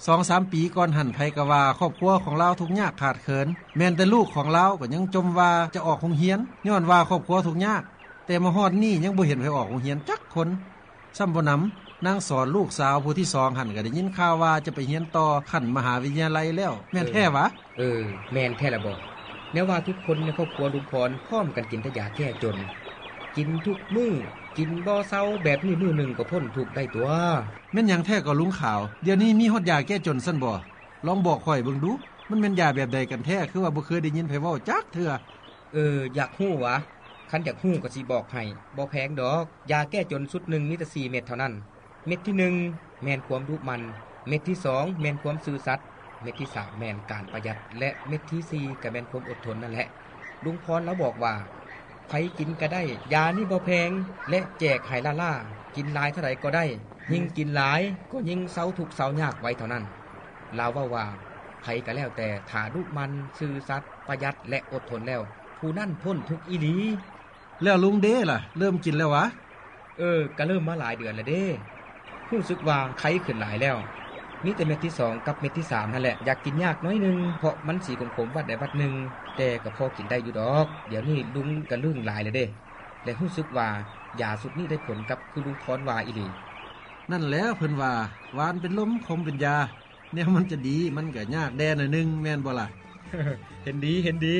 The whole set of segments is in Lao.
ສອງສາມປີກ່ອນຫັ້ນ ໃຜກໍວ່າຄອບຄົວຂອງລາວທຸກຍາກຂາດເຂີນ, ແມ່ນແຕ່ລູກຂອງລາວກໍຍັງຈົ່ມວ່າຈະອອກໂຮງຮຽນ ຍ້ອນວ່າຄອບຄົວທຸກຍາກ, ແຕ່ມາຮອດນີ້ຍັງບໍ່ເຫັນໃຜອອກໂຮງຮຽນຈັກຄົນ. ຊ້ຳບໍ່ໜຳ, ນາງສອນລູກສາວຜູ້ທີສອງຫັ້ນ ກໍໄດ້ຍິນຂ່າວວ່າຈະໄປຮຽນຕໍ່ຂັ້ນມະຫາວິທະຍາໄລແລ້ວ, ແມ່ນແທ້ຫວາ? ເອີ ແມ່ນແທ້ລະບໍ. ແນວວ່າທຸກຄົນໃນຄອບຄົວລຸງພອນພ້ອມກັນກິນແຕ່ຢາແກ້ຈົນ, ກິນທຸກມື້, ກິນບໍ່ເຊົາ, ແບບນີ້ມື້ໜຶ່ງກໍພົ້ນທຸກໄດ້ຕົວະ. ແມ່ນຫຍັງແທ້ກໍລຸງຂາວ? ດຽວນີ້ມີຮອດຢາແກ້ຈົນຊັ້ນບໍ? ລອງບອກຂ້ອຍເບິ່ງດູ, ມັນແມ່ນຢາແບບໃດກັນແທ້? ຄືວ່າບໍ່ເຄີຍໄດ້ຍິນໃຜເວົ້າຈັກເທື່ອ. ເອີ ຢາກຮູ້ຫວາ? ຄັນຢາກຮູ້ກໍຊິບອກໃຫ້, ບໍ່ແພງດອກ. ຢາແກ້ຈົນຊຸດໜຶ່ງມີແຕ່ສີ່ເມັດເທົ່ານັ້ນ. ເມັດທີໜຶ່ງແມ່ນຄວາມດຸໝັ່ນ, ເມັດທີສອງແມ່ນຄວາມຊື່ສັດ, ເມັດທີສາມແມ່ນການປະຢັດ ແລະ ເມັດທີສີ່ກໍແມ່ນຄວາມອົດທົນນັ້ນແຫຼະ. ລຸງພອນລາວບອກວ່າ ໃຜກິນກໍໄດ້, ຢານີ້ບໍ່ແພງ ແລະ ແຈກໃຫ້ລ້າໆ, ກິນຫຼາຍເທົ່າໃດກໍໄດ້, ຍິ່ງກິນຫຼາຍກໍຍິ່ງເຊົາທຸກເຊົາຍາກໄວເທົ່ານັ້ນ. ລາວເວົ້າວ່າ ໃຜກໍແລ້ວແຕ່ ຖ້າດຸໝັ່ນ, ຊື່ສັດ, ປະຢັດ ແລະ ອົດທົນແລ້ວ, ຜູ້ນັ້ນພົ້ນທຸກອີ່ຫຼີ. ແລ້ວລຸງເດລະ ເລີ່ມກິນແລ້ວຫວາ? ເອີ ກະເລີ່ມມາຫຼາຍເດືອນແລ້ວເດ້. ຮູ້ສຶກວ່າໄຄຂຶ້ນຫຼາຍແລ້ວ. ມີແຕ່ເມັດທີສອງກັບເມັດທີສາມຫັ້ນແຫຼະ ຢາກກິນຍາກໜ້ອຍໜຶ່ງ ເພາະມັນສີຂົມໆວັດໃດວັດໜຶ່ງ, ແຕ່ກະພໍກິນໄດ້ຢູ່ດອກ. ດຽວນີ້ລຸງກະລຶ້ງຫຼາຍແລ້ວເດ້ ແລະ ຮູ້ສຶກວ່າຢາຊຸດນີ້ໄດ້ຜົນກັບຄືລຸງພອນວ່າອີ່ຫຼີ. ນັ້ນແຫຼະ ເພິ່ນວ່າ ຫວານເປັນລົມ ຂົມເປັນຢາ. ແນວມັນຈະດີ ມັນກະຍາກແດ່ໜ້ອຍໜຶ່ງ ແມ່ນບໍ່ລະ? ເຫັນດີ ເຫັນດີ.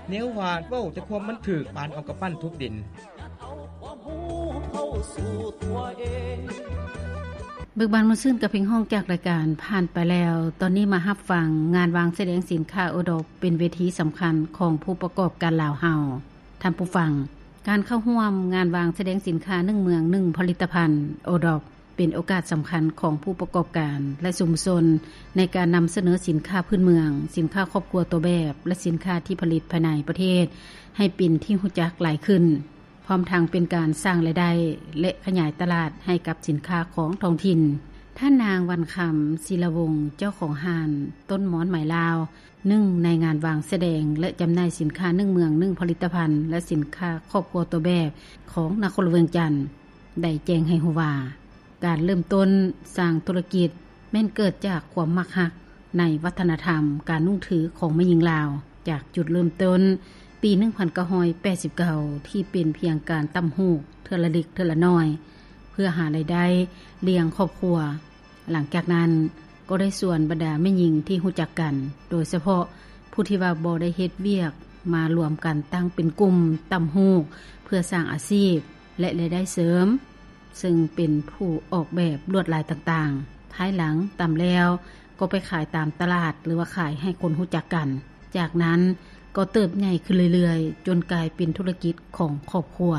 ແນວວ່າເວົ້າແຕ່ຄວາມມັນຖືກ ປານເອົາກຳປັ້ນທຸບດິນ. ເບີກບານມ່ວນຊື່ນກັບເພງຮ້ອງຈາກລາຍການຜ່ານໄປແລ້ວ. ຕອນນີ້ມາຮັບຟັງງານວາງສະແດງສິນຄ້າໂອດອບ ເປັນເວທີສຳຄັນຂອງຜູ້ປະກອບການລາວເຮົາ. ທ່ານຜູ້ຟັງ, ການເຂົ້າຮ່ວມງານວາງສະແດງສິນຄ້າໜຶ່ງເມືອງໜຶ່ງຜະລິດຕະພັນ ໂອດອບ ເປັນໂອກາດສຳຄັນຂອງຜູ້ປະກອບການ ແລະ ຊຸມຊົນ ໃນການນຳສະເໜີສິນຄ້າພື້ນເມືອງ, ສິນຄ້າຄອບຄົວຕົວແບບ ແລະ ສິນຄ້າທີ່ຜະລິດພາຍໃນປະເທດ ໃຫ້ເປັນທີ່ຮູ້ຈັກຫຼາຍຂຶ້ນ, ພ້ອມທັງເປັນການສ້າງລາຍໄດ້ ແລະ ຂະຫຍາຍຕະຫຼາດໃຫ້ກັບສິນຄ້າຂອງທ້ອງຖິ່ນ. ທ່ານນາງ ວັນຄຳ ສີລະວົງ ເຈົ້າຂອງຮ້ານຕົ້ນມອນໄມ້ລາວ ໜຶ່ງໃນງານວາງສະແດງ ແລະ ຈຳໜ່າຍສິນຄ້າໜຶ່ງເມືອງໜຶ່ງຜະລິດຕະພັນ ແລະ ສິນຄ້າຄອບຄົວຕົວແບບຂອງນະຄອນຫຼວງວຽງຈັນ ໄດ້ແຈ້ງໃຫ້ຮູ້ວ່າ ການເລີ່ມຕົ້ນສ້າງທຸລະກິດແມ່ນເກີດຈາກຄວາມມັກຮັກໃນວັດທະນະທຳການນຸ່ງຖືຂອງແມ່ຍິງລາວ, ຈາກຈຸດເລີ່ມຕົ້ນປີໜຶ່ງພັນເກົ້າຮ້ອຍແປດສິບເກົ້າ ທີ່ເປັນພຽງການຕ່ຳຫູກເທື່ອລະເລັກເທື່ອລະໜ້ອຍ ເພື່ອຫາລາຍໄດ້ລ້ຽງຄອບຄົວ. ຫຼັງຈາກນັ້ນກໍໄດ້ຊວນບັນດາແມ່ຍິງທີ່ຮູ້ຈັກກັນ, ໂດຍສະເພາະຜູ້ທີ່ວ່າບໍ່ໄດ້ເຮັດວຽກ ມາລວມກັນຕັ້ງເປັນກຸ່ມຕ່ຳຫູກ ເພື່ອສ້າງອາຊີບ ແລະ ລາຍໄດ້ເສີມ, ເຊິ່ງເປັນຜູ້ອອກແບບລວດລາຍຕ່າງໆ. ພາຍຫຼັງຕ່ຳແລ້ວກໍໄປຂາຍຕາມຕະຫຼາດ ຫຼືວ່າຂາຍໃຫ້ຄົນຮູ້ຈັກກັນ. ຈາກນັ້ນກໍເຕີບໃຫຍ່ຂຶ້ນເລື້ອຍໆ ຈົນກາຍເປັນທຸລະກິດຂອງຄອບຄົວ.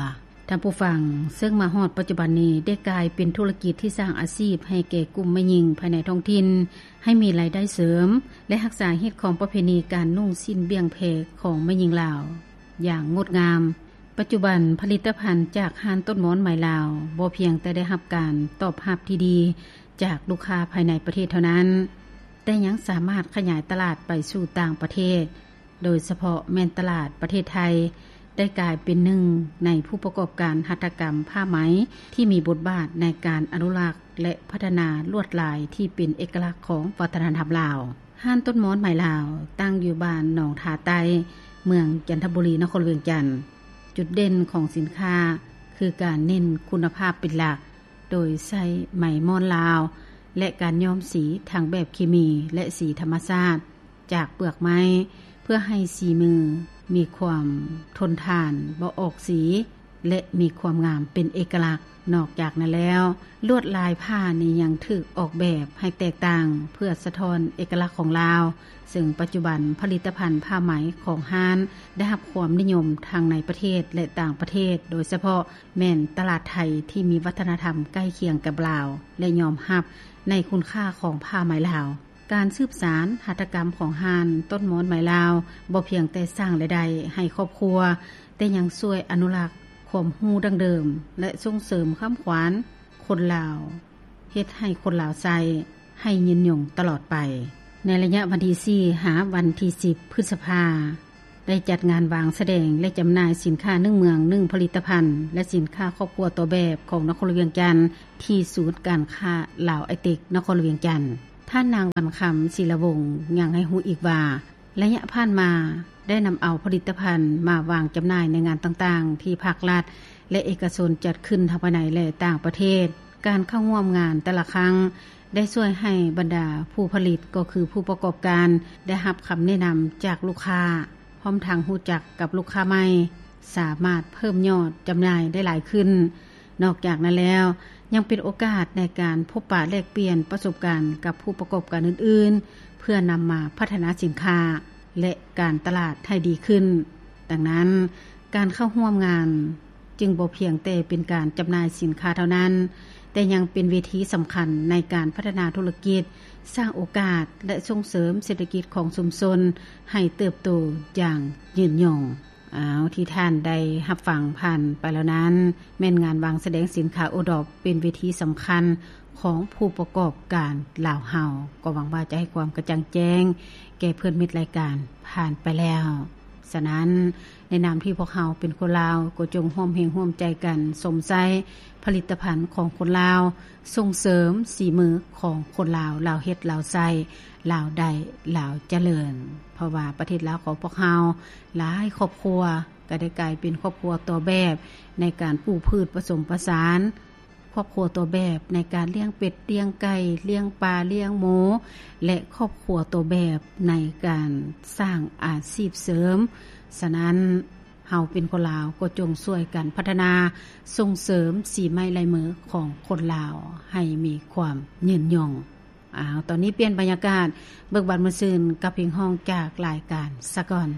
ທ່ານຜູ້ຟັງ, ເຊິ່ງມາຮອດປັດຈຸບັນນີ້ ໄດ້ກາຍເປັນທຸລະກິດທີ່ສ້າງອາຊີບໃຫ້ແກ່ກຸ່ມແມ່ຍິງພາຍໃນທ້ອງຖິ່ນ ໃຫ້ມີລາຍໄດ້ເສີມ ແລະ ຮັກສາຮີດຄອງປະເພນີການນຸ່ງສິ້ນບ່ຽງແພຂອງແມ່ຍິງລາວຢ່າງງົດງາມ. ປັດຈຸບັນ, ຜະລິດຕະພັນຈາກຮ້ານຕົ້ນມອນໄມ້ລາວ ບໍ່ພຽງແຕ່ໄດ້ຮັບການຕອບຮັບທີ່ດີຈາກລູກຄ້າພາຍໃນປະເທດເທົ່ານັ້ນ, ແຕ່ຍັງສາມາດຂະຫຍາຍຕະຫຼາດໄປສູ່ຕ່າງປະເທດ, ໂດຍສະເພາະແມ່ນຕະຫຼາດປະເທດໄທ ໄດ້ກາຍເປັນໜຶ່ງໃນຜູ້ປະກອບການຫັດຖະກຳຜ້າໄໝທີ່ມີບົດບາດໃນການອະນຸລັກ ແລະ ພັດທະນາລວດລາຍທີ່ເປັນເອກະລັກຂອງວັດທະນະທຳລາວ. ຮ້ານຕົ້ນມອນໄມ້ລາວ ຕັ້ງຢູ່ບ້ານໜອງທາໃຕ້, ເມືອງຈັນທະບູລີ, ນະຄອນຫຼວງວຽງຈັນ. ຈຸດເດັ່ນຂອງສິນຄ້າຄືການເນັ້ນຄຸນນະພາບເປັນຫຼັກ, ໂດຍໃຊ້ໄມ້ມ່ອນລາວ ແລະ ການຍ້ອມສີທັງແບບເຄມີ ແລະ ສີທຳມະຊາດຈາກເປືອກໄມ້ ເພື່ອໃຫ້ສີມືມີຄວາມທົນທານ, ບໍ່ອອກສີ ແລະ ມີຄວາມງາມເປັນເອກະລັກ. ນອກຈາກນັ້ນແລ້ວ, ລວດລາຍຜ້ານີ້ຍັງຖືກອອກແບບໃຫ້ແຕກຕ່າງ ເພື່ອສະທ້ອນເອກະລັກຂອງລາວ, ເຊິ່ງປັດຈຸບັນຜະລິດຕະພັນຜ້າໄໝຂອງຮ້ານໄດ້ຮັບຄວາມນິຍົມທັງໃນປະເທດ ແລະ ຕ່າງປະເທດ, ໂດຍສະເພາະແມ່ນຕະຫຼາດໄທທີ່ມີວັດທະນະທຳໃກ້ຄຽງກັບລາວ ແລະ ຍອມຮັບໃນຄຸນຄ່າຂອງຜ້າໄໝລາວ. ການສືບສານຫັດຖະກຳຂອງຮ້ານຕົ້ນມອນໄມ້ລາວ ບໍ່ພຽງແຕ່ສ້າງລາຍໄດ້ໃຫ້ຄອບຄົວ, ແຕ່ຍັງຊ່ວຍອະນຸລັກຄວາມຮູ້ດັ້ງເດີມ ແລະ ສົ່ງເສີມຄຳຂວັນຄົນລາວ, ເຮັດໃຫ້ຄົນລາວໃຊ້ໃຫ້ຍືນຍົງຕະຫຼອດໄປ. ໃນໄລຍະວັນທີສີ່ ຫາວັນທີສິບ ພຶດສະພາ, ໄດ້ຈັດງານວາງສະແດງ ແລະ ຈຳໜ່າຍສິນຄ້າໜຶ່ງເມືອງໜຶ່ງຜະລິດຕະພັນ ແລະ ສິນຄ້າຄອບຄົວຕົວແບບຂອງນະຄອນຫຼວງວຽງຈັນ ທີ່ສູນການຄ້າລາວໄອເຕັກ ນະຄອນຫຼວງວຽງຈັນ. ທ່ ທ່ານນາງ ວັນຄຳ ສີລະວົງ ຍັງໃຫ້ຮູ້ອີກວ່າ ໄລຍະຜ່ານມາໄດ້ນຳເອົາຜະລິດຕະພັນມາວາງຈຳໜ່າຍໃນງານຕ່າງໆ ທີ່ພາກລັດ ແລະ ເອກະຊົນຈັດຂຶ້ນທັງພາຍໃນ ແລະ ຕ່າງປະເທດ. ການເຂົ້າຮ່ວມງານແຕ່ລະຄັ້ງ ໄດ້ຊ່ວຍໃຫ້ບັນດາຜູ້ຜະລິດ ກໍຄືຜູ້ປະກອບການ ໄດ້ຮັບຄຳແນະນຳຈາກລູກຄ້າ ພ້ອມທັງຮູ້ຈັກກັບລູກຄ້າໃໝ່, ສາມາດເພີ່ມຍອດຈຳໜ່າຍໄດ້ຫຼາຍຂຶ້ນ. ນອກຈາກນັ້ນແລ້ວ ຍັງເປັນໂອກາດໃນການພົບປະແລກປ່ຽນປະສົບການກັບຜູ້ປະກອບການອື່ນໆ ເພື່ອນຳມາພັດທະນາສິນຄ້າ ແລະ ການຕະຫຼາດໃຫ້ດີຂຶ້ນ. ດັ່ງນັ້ນ, ການເຂົ້າຮ່ວມງານຈຶ່ງບໍ່ພຽງແຕ່ເປັນການຈຳໜ່າຍສິນຄ້າເທົ່ານັ້ນ, ແຕ່ຍັງເປັນເວທີສຳຄັນໃນການພັດທະນາທຸລະກິດ, ສ້າງໂອກາດ ແລະ ສົ່ງເສີມເສດຖະກິດຂອງຊຸມຊົນໃຫ້ເຕີບໂຕຢ່າງຍືນຍົງ. ອ້າວ ທີ່ທ່ານໄດ້ຮັບຟັງຜ່ານໄປແລ້ວນັ້ນ ແມ່ນງານວາງສະແດງສິນຄ້າໂອດອບ ເປັນເວທີສຳຄັນຂອງຜູ້ປະກອບການລາວເຮົາ. ກໍຫວັງວ່າຈະໃຫ້ຄວາມກະຈ່າງແຈ້ງແກ່ເພື່ອນມິດລາຍການຜ່ານໄປແລ້ວ. ສະນັ້ນ, ໃນນາມທີ່ພວກເຮົາເປັນຄົນລາວ ກໍຈົ່ງຮ່ວມແຮງຮ່ວມໃຈກັນຊົມໃຊ້ຜະລິດຕະພັນຂອງຄົນລາວ, ສົ່ງເສີມສີມືຂອງຄົນລາວ, ລາວເຮັດ, ລາວໃຊ້, ລາວໄດ້, ລາວຈະເລີນ. ເພາະວ່າປະເທດລາວຂອງພວກເຮົາ ຫຼາຍຄອບຄົວກໍໄດ້ກາຍເປັນຄອບຄົວຕົວແບບໃນການປູກພືດປະສົມປະສານ, ຄອບຄົວຕົວແບບໃນການລ້ຽງເປັດ, ລ້ຽງໄກ່, ລ້ຽງປາ, ລ້ຽງໝູ ແລະ ຄອບຄົວຕົວແບບໃນການສ້າງອາຊີບເສີມ. ສະນັ້ນ, ເຮົາເປັນຄົນລາວກໍຈົ່ງຊ່ວຍກັນພັດທະນາ, ສົ່ງເສີມສີໄມ້ລາຍມືຂອງຄົນລາວໃຫ້ມີຄວາມຍືນຍົງ. ອ້າວ ຕອນນີ້ປ່ຽນບັນຍາກາດ, ເບີກບານມ່ວນຊື່ນກັບເພງຮ້ອງຈາກລາຍການສາກ່ອນ.